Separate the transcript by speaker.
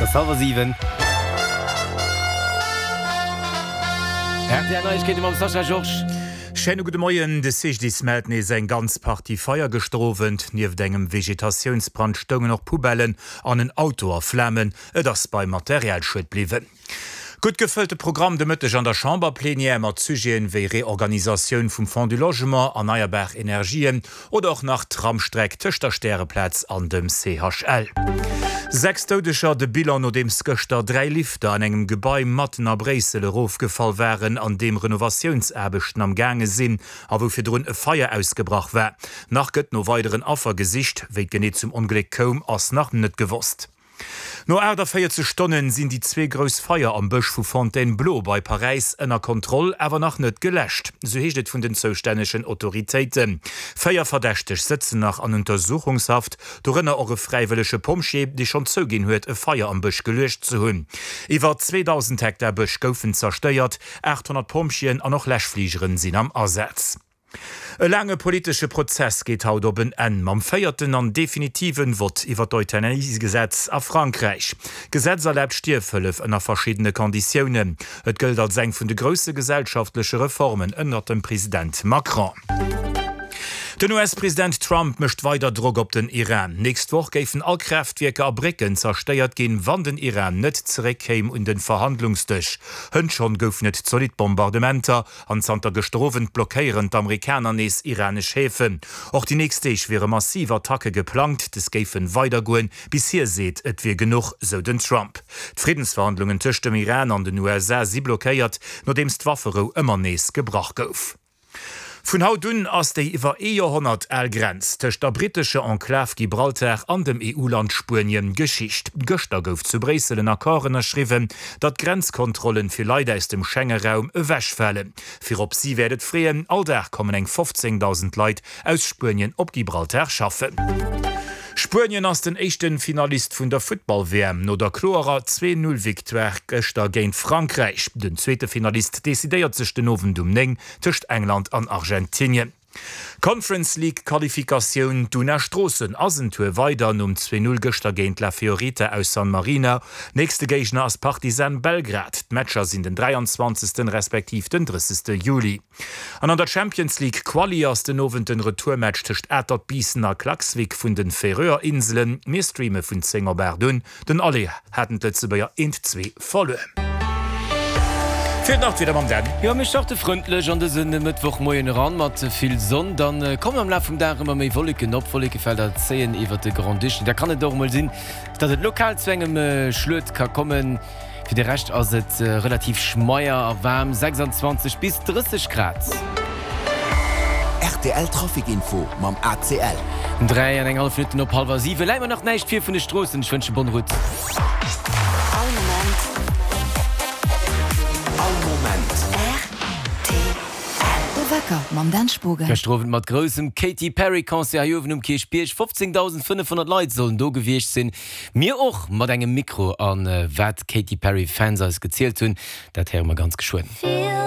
Speaker 1: Et ass hallwer 7. Rtl Neiegkeete mam Sascha Georges.
Speaker 2: Schéine gudde Moien. De CGDIS mellt nees eng ganz Partie Feier gëschter Owend. Nieft engem Vegetatiounsbrand stoungen och Poubellen an en Auto a Flamen. Et ass beim Materialschued bliwwen. Gutt gefëllte Programm de Mëtteg an der Chamberplenière mat Sujeten wéi Reorganisatioun vum Fonds du Logement, erneierbar Energien oder och nach Tramstreck tëscht der Stäreplaz an dem CHL. 6 Doudeger, de Bilan nodeems gëschter 3 Lifter an engem Gebai matten a Bréissel erofgefall waren, an deem Renovatiounsaarbechten am gaange sinn a wou virdrun e Feier ausgebrach war. Nach gëtt no weideren Affer gesicht. Wéi et genee zum Ongléck koum, ass nach net gewosst. No 48 Stonnen sinn déi zwee grouss Feier am Bësch vu Fontainebleau bei Paräis ënner Kontroll, awer nach net geläscht, sou heescht et vun den zoustännegen Autoritéiten. Véier Verdächteg sëtzen nach an Untersuchungshaft, dorënner och e fräiwëllege Pompjee, dee schonn zouginn huet, e Feier am Bësch geluecht ze hunn. Iwwer 2.000 Hektar Bësch goufen zerstéiert, 800 Pompjeeën an och Läschfligeren sinn am Asaz. E laange politesche Prozess geet haut op en Enn mam véierten an definitiven Vott iwwer d'Euthanasiegesetz a Frankräich. D'Gesetz erlaabt Stierfhëllef ënner verschiddene Konditiounen. Et gëllt als eng vun de grousse gesellschaftleche Reformen ënnert dem President Macron. Den US-President Trump mécht weider Drock op den Iran. Nächst Woch géifen all Kraaftwierker a Brécken zerstéiert ginn, wann den Iran net zeréckkéim un den Verhandlungsdësch. Hënt schonn goufen et zolidd Bombardementer. An zanter gëschter Owend blockéieren d'Amerikaner nees iranesch Häfen. Och déi nächst Deeg wiere massiv Attacke geplangt. Des géifen weidergoen, bis hie seet, et wier genuch, sou den Trump. D'Friddensverhandlungen tëscht dem Iran an den USA si blockéiert, nodeems d'Wafferou ëmmer nees gebrach gouf. Vun haut un ass déi iwwer ee Joerhonnert al Grenz tëscht der brittescher Enklav Gibraltar an dem EU-Land Spuenien Geschicht. Gëschter gouf zu Bréissel en Accord ënnerschriwwen, datt d'Grenzkontrollen fir Leit aus dem Schenge-Raum ewechfalen. Virop si wäert et freeën, all Dag kommen eng 15.000 Leit aus Spuenien op Gibraltar schaffen. Spuenien ass den éischte Finalist vun der Futtball-WM no der kloerer 2, 0 Victoire gëschter géint Frankräich. Den zweete Finalist decidéiert sech den Owend um 9 tëscht England an Argentinien. Conference League Qualifikatioun, D'Una Stroossen ass en Tour weider nom 2, 0 gëschter géint La Fiorita aus San Marino. Nächste Géigner ass Partizan Belgrad. D'Matcher sinn den 23. Respektiv den 30. Juli. An an der Champions League Quali ass den Owend den Retourmatch tëscht Atert Biissen a Klaksvik vun den Färöer Inselen. Mir streame vun 10 op 8 un. Den Aller haten d'Lëtzebuerger 1, 2 verluer. Fir d'Nachtwieder mam Dan.
Speaker 1: Jo, mir starte frëndlech an dëse Mëttwochmoien eran mat vill Sonn. Dann kommen am Laf vum Dag ëmmer méi Wolleken op. Wollekefelder zéien iwwert de Grand-Duché. Da kann et och emol sinn, dass et lokal zu engem Schluet ka kommen. Fir de Rescht ass et relativ schmeier a waarm, 26 bis 30 Grad.
Speaker 3: Rtl Trafic Info mam ACL.
Speaker 1: 3 an eng hallef Minutten op hallwer 7. Läit mer nach näischt vir vun de Stroossen. Ech wënsche bonne route.
Speaker 4: All Moment.
Speaker 3: All Moment.
Speaker 4: Rtl. De Wecker mam Dan Spogen.
Speaker 1: Gëschter Owend mat groussem Katy Perry Concert hei uewen um Kierchbierg. 15.500 Leit sollen do gewiescht sinn. Mir och mat engem Mikro. An wat d'Katy Perry Fans eis gezielt hunn, dat héiere mer ganz geschwënn.